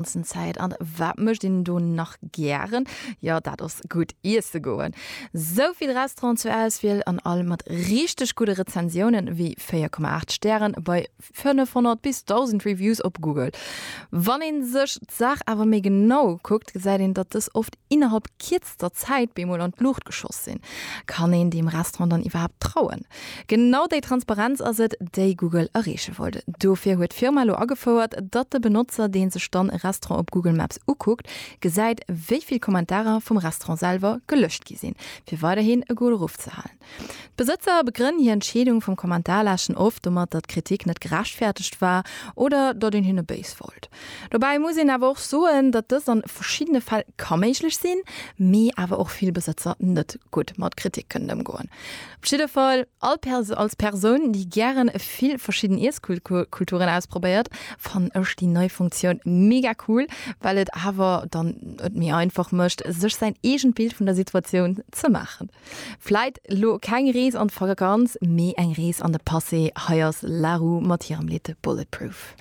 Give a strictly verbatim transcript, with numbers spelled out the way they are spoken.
ganzen Zäit. An wat mécht een do nach gären? Jo, dat ass gutt iesse goen. Sou vill Restauranten zur Auswiel an all mat richteg gudde Rezensiounen, wéi véier Komma aacht Stären bei fënnefhonnert bis dausend Reviews op Google. Wann ee sech d'Saach awer méi genau ukuckt, gesäit een, datt dës oft innerhalb kierzter Zäit bemol an d'Luucht geschoss sinn. Kann een deem Restaurant dann iwwerhaapt trauen? Genau déi Transparenz ass et, déi Google erreeche wollt. Dofir huet d'Firma elo agefouert, datt de Benotzer, dee sech dann e Restaurant op Google Maps ukuckt, gesäit, wéi vill Kommentarer vum Restaurant selwer gelöscht gi sinn, fir weiderhin e gudde Ruff ze halen. D'Besëtzer begrënnen hir Entscheedung vum Kommentarläschen oft domat, datt d'Kritik net gerechtfertegt war oder datt een hinne béis wollt. Dobäi muss een awer och soen, datt dëst an verschiddene Fäll ka méiglech sinn, mee awer och vill Besëtzer net gutt mat Kritik kënnen ëmgoen. Op jidde Fall, all Pers als Persoun, déi gären vill verschidden Iesskulturen ausprobéiert, fannen ech déi nei Funktioun mega cool, well et awer dann et méi einfach mécht, sech säin eegent Bild vun der Situatioun ze maachen. Vläit lo keng Rees an d'Vakanz, mee eng Rees an de Passé. Hei ass La Roux mat hirem Lidd Bulletproof.